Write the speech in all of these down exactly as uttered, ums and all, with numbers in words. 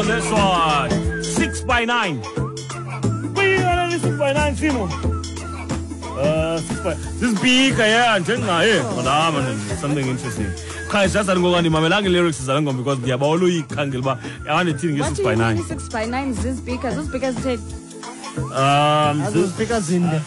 on this one. Six by nine. Six by nine, Simo. Uh, six by this big, yeah, njengaye. Oh, something interesting. Guys, just andimamelanga lyrics zale ngoma because ndiyabawela uyikhangela uba andithini nge-six by nine. Six by nine zizipika, zizipika zitheni? Um, zizipika zinde.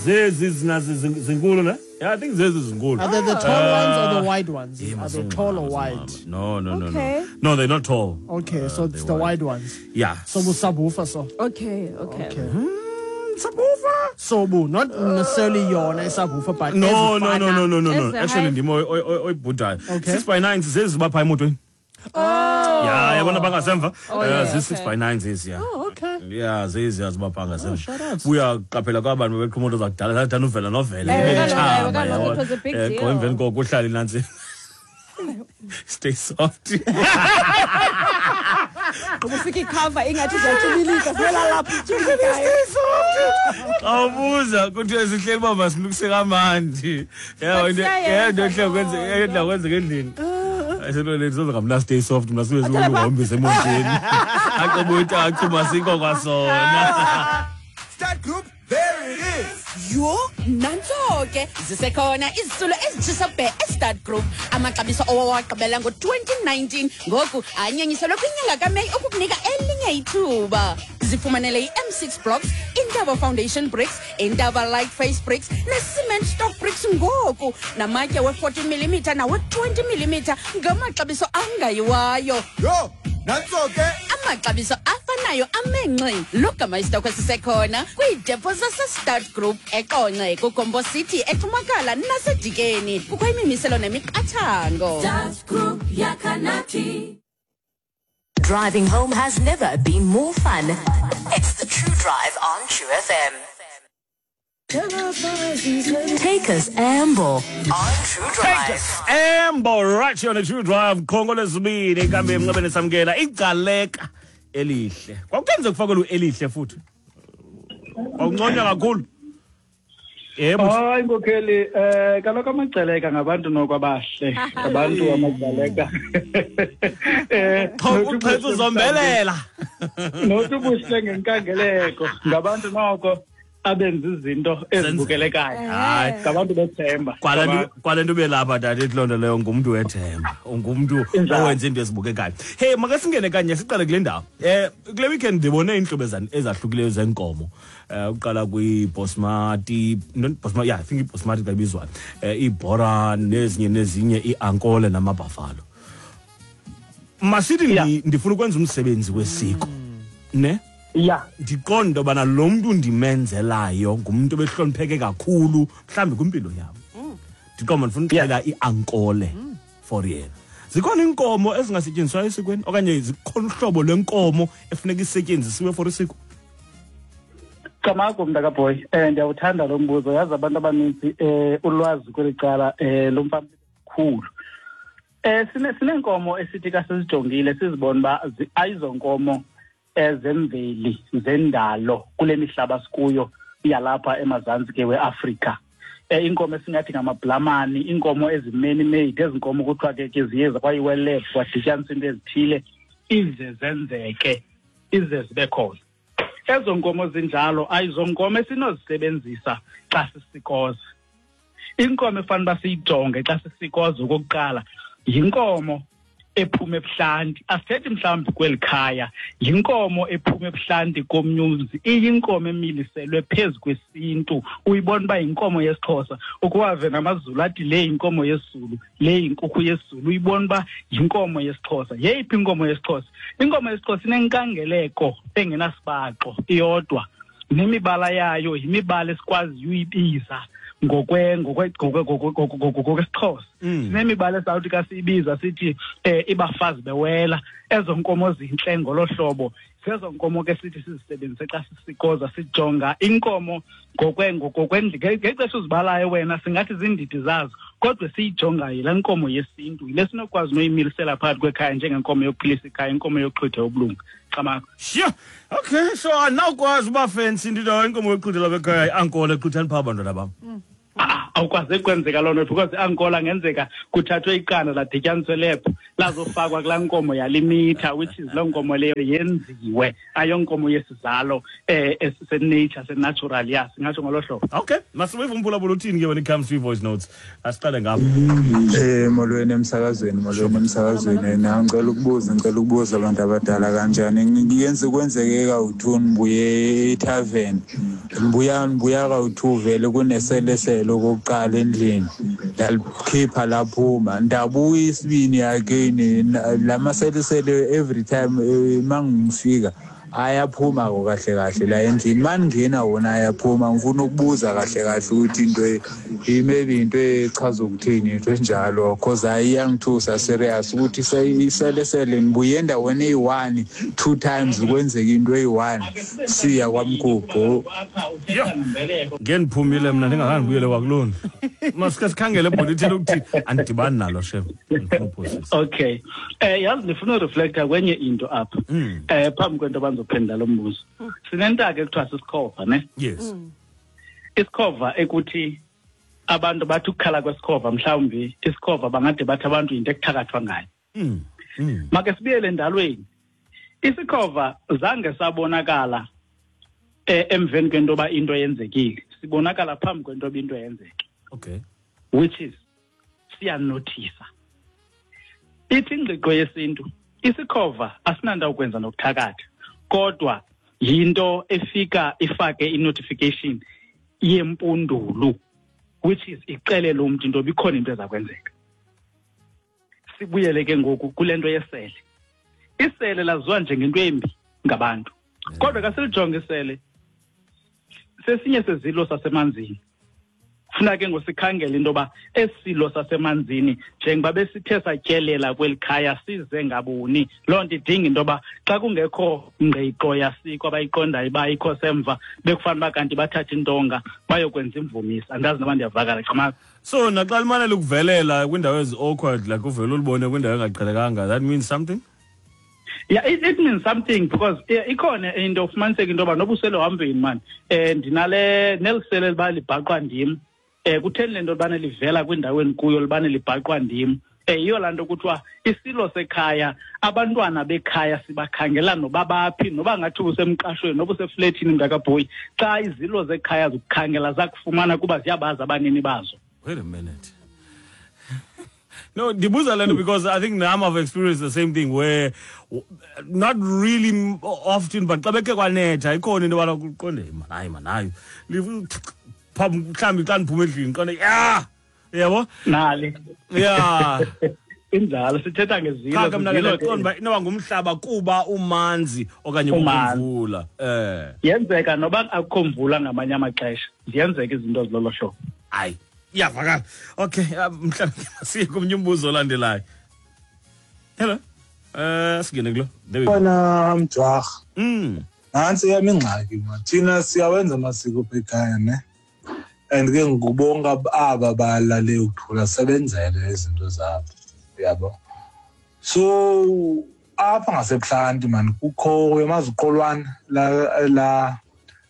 Zezi zinkulu ne? Yeah, I think zezi zinkulu. Are they the tall ones or the wide ones? Yeah, are they tall or wide? No, no, no, okay. no. No, they're not tall. Okay, so uh, it's the wide ones. Yeah. So subwoofer so. Okay, okay. Okay. Hmm, subwoofer? Sobu, not necessarily yona subwoofer, but no, no, no, no, no, no, no. Actually, ndimo oyibhudayo. Six by nine zezi bapha emotweni. Oh. Yeah, yabona bangasemva. Oh, yeah, uh, six by nine zezi, yeah. Oh, okay. Yeah, zezi azibapha ngasemva. Oh, Buyaqaphela kwabantu beqhuma imoto zakudala, zathanda uvela novela. It was a big deal. Emveni koko uhlala nansi. Stay soft. Ubufika icover ingathi uzatshibilika sibela lapha itshilikayo. Stay soft. Awubuza kuthiwe sihleli uba masilukise kamandi. Yeah, yeah, into ehle kwenzeka endla kwenzeka endlini. Ayiselole lizoza ngamna stay soft mna sibe siwuhombise emotweni. Aqobuthi achuma sikho kwasona. Start group, there it is. Yho, nantso ke zisekhona izitulo ezitshisa bhe eStart Group. Amaxabiso owawagqibela ngo-twenty nineteen ngoku anyanyiselwe kwinyanga kaMeyi ukukunika elinye ithuba. Zifumanele i-M six blocks, Intaba Foundation bricks, Intaba Light Face bricks ne-cement stock bricks ngoku namatye we-forty millimeter nawe-twenty millimeter ngamaxabiso angayiwayo. Yho, nantso ke amaxabiso afanayo amenxi. Logama isitokhwe sisekhona kwiidepo zaseStart Group eQonce, kuGombo City, eThumakala naseDikeni. Kukho imimiselo nemiqathango. Start Group yakanathi. Driving home has never been more fun. It's the True Drive on True F M. Take us amble on True Drive. Take us amble right here on the True Drive. Khongo lesibini kambe emnxebeni samkela igcaleka elihle. Kwakukenze kufakelwe elihle futhi. Kwakunconywa kakhulu. Yebo. Hayi nkokheli, eh kaloku amagcaleka ngabantu nokwabahle, abantu amagcaleka. Eh uqhetha uzombelela. Nothi ubuhle ngenkangeleko ngabantu noko abenza izinto ezibukelekayo. Hayi, ngabantu bethemba. Kwale nto belapha tata ethi leyo ngumntu wethemba, ungumntu owenza into ezibukekayo. Hey, makasingene kanye siqale kule ndawo. Eh kule weekend ndibone iintlobo ezahlukileyo zenkomo. Eh uqala kwi-Bosmati, not Bosmati, yeah, I think i-Bosmati xa ibizwayo. Eh iBora nezinye nezinye iAnkole namaBuffalo. Masithi ndifuna ukwenza umsebenzi wesiko. Ne? Yeah. Ndiqonda bana lo mntu ndimenzelayo ngumntu obehlonipheke kakhulu mhlawumbi kwimpilo yam. Ndiqonda ndifuna uxhela iAnkole for yena. Zikhona iinkomo ezingasetyenziswayo esikweni okanye zikhona uhlobo lwenkomo efuneka isetyenzisiwe for isiko? Camagu mntakaboy, eh ndiyawuthanda lo mbuzo. Yazi abantu abaninzi eh ulwazi kweli cala eh lomfana kakhulu. Eh sine sinenkomo esithi ka sizijongile sizibona uba ayizonkomo ezemveli zendalo kule mihlaba sikuyo yalapha emazantsi ke weAfrika. Eh inkomo esingathi ngamablamani, inkomo ezimeni made, ezinkomo kuthiwa ke ke ziye kwayiwe lab kwadityaniswa into ezithile ize zenzeke ize zibe khona. Ezo nkomo zinjalo ayizonkomo esinozisebenzisa xa sisikoza. Inkomo efanele uba siyijonge xa sisikoza okokuqala yinkomo ephuma ebuhlanti. Asithethi mhlawumbi kweli khaya, yinkomo ephuma ebuhlanti komnyumzi, iyinkomo emiliselwe phezu kwesintu. Uyibona uba yinkomo yesiXhosa, ukuwave namaZulu athi le yinkomo yesiZulu, le yinkukhu yesiZulu, uyibona uba yinkomo yesiXhosa. Yeyiphi inkomo yesiXhosa? Inkomo yesiXhosa inenkangeleko engenasibaxo iyodwa, nemibala yayo yimibala esikwaziyo uyibiza ngokwe ngokwe ngokwesiXhosa. Sinemibala esawuthi ka siyibiza sithi eh ibafazi bewela. Ezo nkomo zintle ngolo hlobo zezo nkomo ke sithi sizisebenzise xa sisikoza. Sijonga inkomo ngokwe ngokwe ngexesha uzibalayo wena singathi zindidi zazo, kodwa siyijonga yile nkomo yesintu, yile sinokwazi noyimilisela phakathi kwekhaya njengenkomo yokuphilisa ikhaya, inkomo yokuxhwitha ubulunga. Camagu. Sure. Okay, so anawukwazi uba fancy into inkomo yokuxhwithela bekhaya iAnkole exhwithani phaa bantwana bam. Awukwazi kwenzeka loo nto because iAnkola ngenzeka kuthathwe iqanda ladityaniswe lab Lazofakwa kulaa nkomo yalimitha, which is loo nkomo leyo yenziwe, ayonkomo yesizalo eh esenature, senatural, ya singatsho ngolo hlobo. Okay, masibuye umphulaphula uthini ke when it comes to voice notes. Asiqale ngapha. Eh molweni emsakazweni, molweni emsakazweni. Na ngicela ukubuza, ngicela ukubuza abantu abadala kanjani. Ngiyenze kwenzeke kawu-two ngibuye etavern. Ngibuya ngibuya kawu-two vele kuneseleselo okokuqala endlini. Ndalikhipha laphuma. Ndabuya isibini again lamaselesele every time mangifika ayaphuma kahle kahle la endlini. Mangena wona ayaphuma. Ngifuna ukubuza kahle kahle ukuthi into maybe into echaza ukuthini into enjalo, cause ayiyangithusa serious ukuthi iselesele ngibuye endaweni eyi-one two times kwenzeka into eyi-one siya kwamgubho. Ngendiphumile mna ndingakhange ndibuyele kwakulona. Masike sikhangele ebhodi ithele ukuthini andidibani nalo shem. Okay. Eh yazi ndifuna ureflecta kwenye into apha. Eh phambi kwento bandizophendula lo mbuzo. Sinentaka ekuthiwa sisikhova, ne? Yes. Isikhova ekuthi abantu bathi ukukhala kwesikhova, mhlawumbi isikhova bangade bathi abantu into ekuthakathwa ngayo. Mm. Mm. Make sibuyele endalweni. Isikhova zange sabonakala eh emveni kwento ba into yenzekile. Sibonakala phambi kwento into yenzeke. Okay. Which is siyanothisa. Ithi ingqiqo yesintu isikhova asinandawo ukwenza nokuthakatha, kodwa yinto efika ifake i-notification yempundulu, which is ixelele umntu into bikhona into ezakwenzeka. Sibuyele ke ngoku kule nto yesele. Isele laziwa njengento embi ngabantu, kodwa ka silijonge isele sesinye sezilo sasemanzini. Funa ke ngosikhangela into yoba esilo sasemanzini njengoba besithe satyelela kweli khaya size ngabuni, loo nto idinga into yoba xa kungekho ngqiqo yasiko abayiqondayo uba ikho semva, bekufanele uba kanti bathathe intonga bayokwenza imvumisa. Andazi noba ndiyavakala qhamaka. So naxa limane likuvelela kwiindawo ezi-awkward, like uvele ulibone kwindawo engaqhelekanga, that means something? Yeah, it, it means something because ikhona into ufumaniseka into yoba noba usele uhambeni mani um ndinale nelisele liba libhaqwa ndim. Eh kutheni le nto libane livela kwindawo endikuyo libane libhaqwa ndim? Eh yiyo laa nto kuthiwa isilo sekhaya, abantwana bekhaya sibakhangela noba baphi, noba ngathi usemqashweni noba usefletini mntakabhoyi, xa izilo zekhaya zikukhangela zakufumana kuba ziyabazi abanini bazo. Wait a minute. No, ndibuza le nto because I think now I've experienced the same thing where not really often, but xa bekhe kwanetha ikhona into yobana kuqonde man, hayi man, hayi mhlawumbi xa ndiphume endlini qonde ya yabo nali ya injalo sithetha ngezilo. Cha mna ke ndiqonda uba inoba ngumhlaba kuba umanzi okanye kumvula. Eh yenzeka noba akukho mvula ngamanye amaxesha, ziyenzeka izinto ezilolo hlobo. Hayi iyavakala. Okay, mhlawumbi masiye komnye umbuzo olandelayo. Hello. Eh singene kulo. Bona mjwarha. Mm. Nantsi yam ingxaki man. Thina siyawenza amasiko apha ekhaya ne. And ke ngubonga aba balale ukuthula sebenzele izinto zabo. Yabo. So apha ngasebuhlanti man kukho uyamaziqolwana la la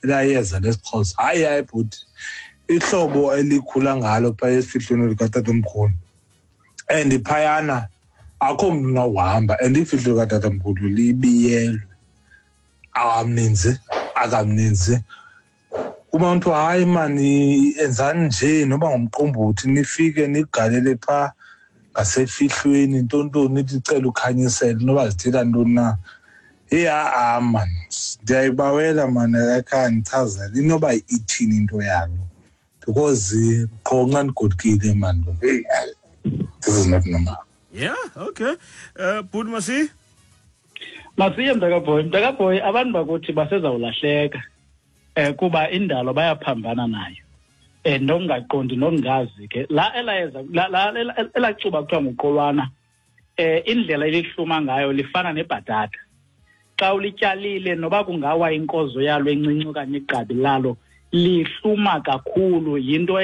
la yeza lesiXhosa. Hayi hayi bhuti. Ihlobo elikhula ngalo pha esifihlweni likatatomkhulu. And phayana akho mntu unawuhamba and ifihlo likatatomkhulu libiyelwe. Akamninzi, akamninzi. Kuma mntu hayi mani enzani nje noba ngumqombothi nifike nigalele pha ngasefihlweni ntontoni nithi cela ukhanyisele noba zithela ntoni na. Hey a man ndiyayibawela man akhe ndichazele inoba ithini into yalo because qho nxa ndigodukile man. Hey, this is not normal. Yeah, okay. Uh Bhuti Masi? Masiye mntakaboy, mntakaboy abantu bakuthi basezawulahleka. Eh kuba indalo bayaphambana nayo. Eh nokungaqondi nokungazi ke la elayeza la elacuba kuthiwa nguqolwana eh indlela elihluma ngayo lifana nebhatata. Xa ulityalile noba kungawa inkozo yalo encinci okanye igqabi lalo lihluma kakhulu, yinto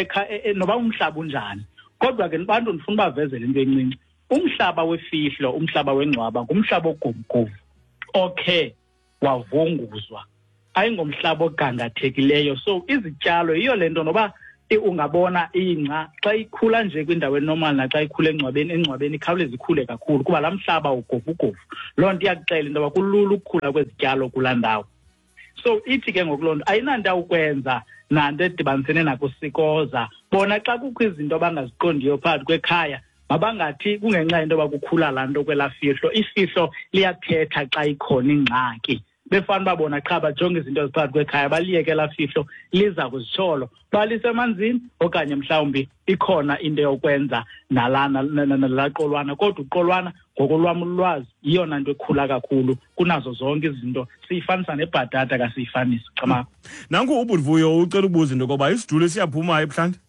noba umhlaba unjani. Kodwa ke abantu ndifuna ubavezela into encinci. Umhlaba wefihlo, umhlaba wengcwaba ngumhlaba ogumgovu okhe wavunguzwa, ayingomhlaba ogangathekileyo. So izityalo yiyo le nto noba Ungabona ingca xa ikhula nje kwindawo enormal naxa ikhula engcwabeni, engcwabeni ikhawuleze ikhule kakhulu kuba laa mhlaba ugovugovu. Loo nto iyakuxela into yoba kulula ukukhula kwezityalo kulaa ndawo. So ithi ke ngoku loo nto ayinanto ukwenza nanto edibanisene nakusikoza. Bona xa kukho izinto abangaziqondiyo phakathi kwekhaya, mabangathi kungenxa yento yoba kukhula laa nto kwelaa fihlo. Ifihlo liyathetha xa ikhona ingxaki. Befana uba bona qha bajonge izinto eziphakathi kwekhaya, baliyeke elaa fihlo liza kuzitsholo, balisemanzini okanye mhlawumbi ikhona into yokwenza nalaa nalaa qolwana. Kodwa uqolwana ngokolwam ulwazi yiyona nto ekhula kakhulu kunazo zonke izinto. Siyifanisa nebhatata kasiyifanisi. Cama. Nanku uBuvuyo ucela ukubuza into yokoba isiduli siyaphuma ebuhlanti?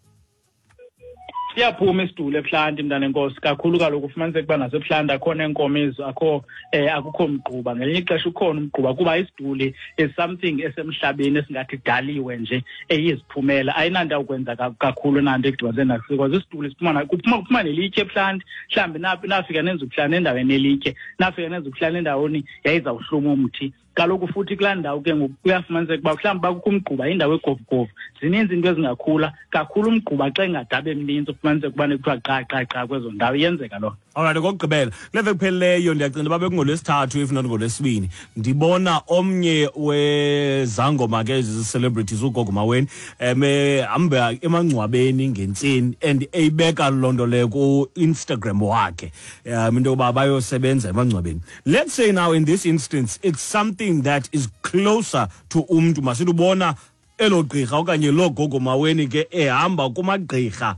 Siyaphuma isiduli ebuhlanti, mntanenkosi, kakhulu. Kaloku ufumaniseke uba nasebuhlanti akho neenkomo ezo, akho um akukho mgquba. Ngelinye ixesha ukhona umgquba kuba isiduli is something esemhlabeni esingathi idaliwe nje eyiziphumela, ayinanto ukwenza kakhulu nanto edibanise nasiko. Isiduli siphuma kuphuma kuphuma nelitye ebuhlanti. Mhlawumbi nafika nenza ubuhlanti endaweni elitye, nafika nenza ubuhlanti endaweni yayizawuhluma umthi. Kaloku futhi kulaa ndawo ke ngoku kuyafumaniseka uba mhlawumbi bakukho umgquba, indawo egovugovu, zininzi into ezingakhula kakhulu. Umgquba xa engadabe mninzi ufumaniseka ubane kuthiwa qa qa qa kwezo ndawo, iyenzeka loo nto. Alright, okokugqibela kule veki kuphelileyo ndiyacinga uba bekungolwesithathu if not ngolwesibini, ndibona omnye wezangoma ke ezi celebrities uGogo Maweni um ehamba emangcwabeni ngentseni and eyibeka loo nto leyo ku-Instagram wakhe, um into yokuba bayosebenza emangcwabeni. Let's say now in this instance it's something that is closer to umntu, masithi ubona elo gqirha okanye loo Gogo Maweni ke ehamba kumagqirha,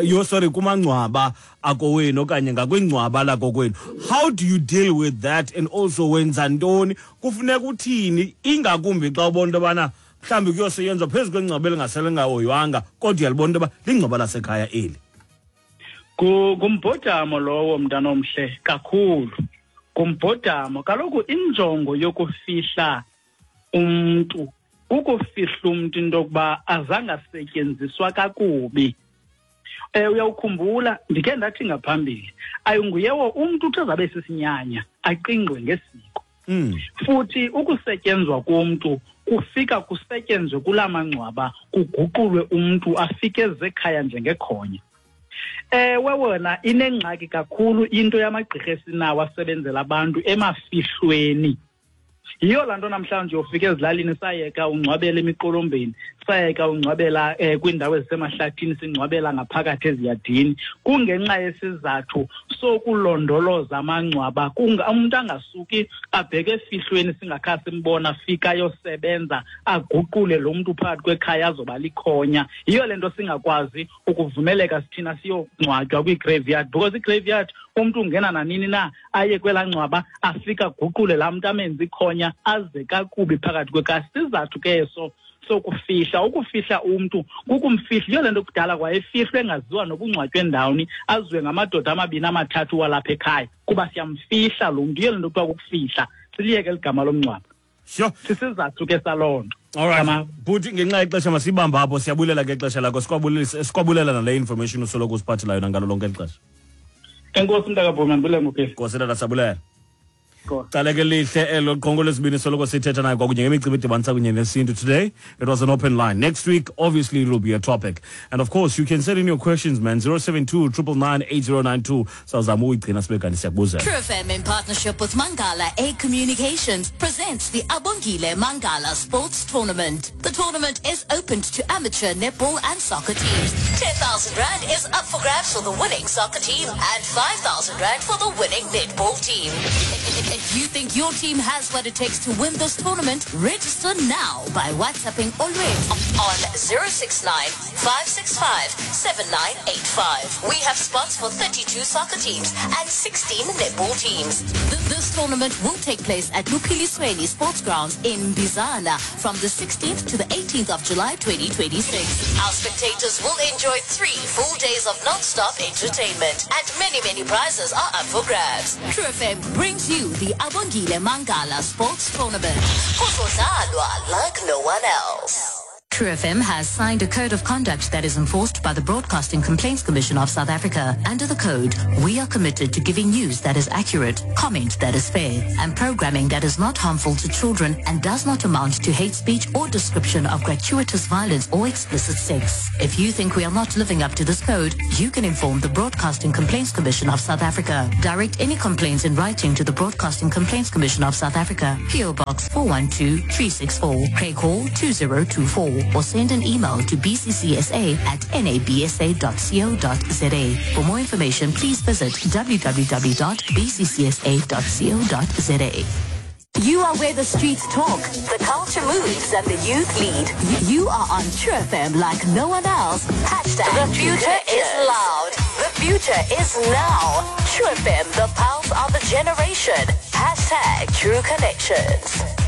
yo sorry, kumangcwaba akowenu okanye ngakwingcwaba lakokwenu. How do you deal with that, and also wenza ntoni, kufuneka uthini, ingakumbi xa ubona into yobana mhlawumbi kuyosetyenzwa phezu kwengcwaba elingasele lingahoywanga, kodwa uyalibona into yoba lingcwaba lasekhaya eli? Ngumbhodamo lowo, mntanomhle, kakhulu ngumbhodamo. Kaloku injongo yokufihla umntu kukufihla umntu into yokuba azange asetyenziswa kakubi. Um uyawukhumbula ndikhe ndathi ngaphambili, ayinguyewo umntu uthi azabe sisinyanya aqingqwe ngesiko. Mm. Futhi ukusetyenzwa komntu kufika kusetyenzwe kulaa mangcwaba, kuguqulwe umntu afike ezekhaya njengekhonya. Ewe wona inengxaki kakhulu into yamagqirha esinawo asebenzela abantu emafihlweni. Yiyo laa nto namhlanje uyofika ezilalini sayeka ungcwabela emiqolombeni, sayeka ungcwabela um kwiindawo ezisemahlathini, singcwabela ngaphakathi eziyadini, kungenxa yesizathu sokulondoloza amangcwaba. Umntu angasuki abheke efihlweni singakha simbona, fika ayosebenza aguqule lo mntu phakathi kwekhaya azoba likhonya. Yiyo le nto singakwazi ukuvumeleka sithina siyongcwatywa kwi-graveyard, because i-graveyard umntu ungena nanini na aye kwelaa ngcwaba afike aguqule laa mntu amenze ikhonya aze kakubi phakathi kwekhaya. Sizathu ke eso sokufihla. Ukufihla umntu kukumfihla. Yiyo le nto kudala kwayefihlwe engaziwa nobungcwatywe ndawoni, aziwe ngamadoda amabini amathathu walapha ekhaya kuba siyamfihla lo mntu. Yiyo le nto kuthiwa kukufihla, siliyeke ligama lomngcwabo. Sure. Sisizathu ke saloo nto. Alright. Bhuti, ngenxa yexesha masibambe apho. Siyabulela ke ixesha lakho, sikwabulela nale information usoloko usiphathela yona ngalo lonke eli xesha. Enkosi mntakabhumi, andibulele ngoku. Nkosi tata, sabulela. Caleke lihle elo qongo lesibini soloko sithetha naye kwakunye ngemicimbi edibanisa kunye nesintu. Today it was an open line. Next week obviously it will be a topic, and of course you can send in your questions, man. Zero seven two triple nine eight zero nine two. Sawuzama uyigcina sibe kanti siyakubuzela. True F M in partnership with Mangala A Communications presents the Abongile Mangala Sports Tournament. The tournament is open to amateur netball and soccer teams. ten thousand rand is up for grabs for the winning soccer team and five thousand rand for the winning netball team. If you think your team has what it takes to win this tournament, register now by WhatsApping Olwethu on zero six nine, five six five, seven nine eight five. We have spots for thirty-two soccer teams and sixteen netball teams. This tournament will take place at Luphilisweni Sports Grounds in Bizana from the sixteenth to the eighteenth of July twenty twenty-six. Our spectators will enjoy three full days of non-stop entertainment, and many, many prizes are up for grabs. True F M brings you the Abongile Mangala Sports Tournament. Kuzodlalwa like no one else. True F M has signed a code of conduct that is enforced by the Broadcasting Complaints Commission of South Africa. Under the code, we are committed to giving news that is accurate, comment that is fair, and programming that is not harmful to children and does not amount to hate speech or description of gratuitous violence or explicit sex. If you think we are not living up to this code, you can inform the Broadcasting Complaints Commission of South Africa. Direct any complaints in writing to the Broadcasting Complaints Commission of South Africa, P O Box four one two three six four, Craig Hall two zero two four. Or send an email to b c c s a at n a b s a dot co dot z a. For more information, please visit w w w dot b c c s a dot co dot z a. You are where the streets talk, the culture moves, and the youth lead. You are on True F M like no one else. Hashtag the future is loud. The future is now. True F M, the pulse of the generation. Hashtag True Connections.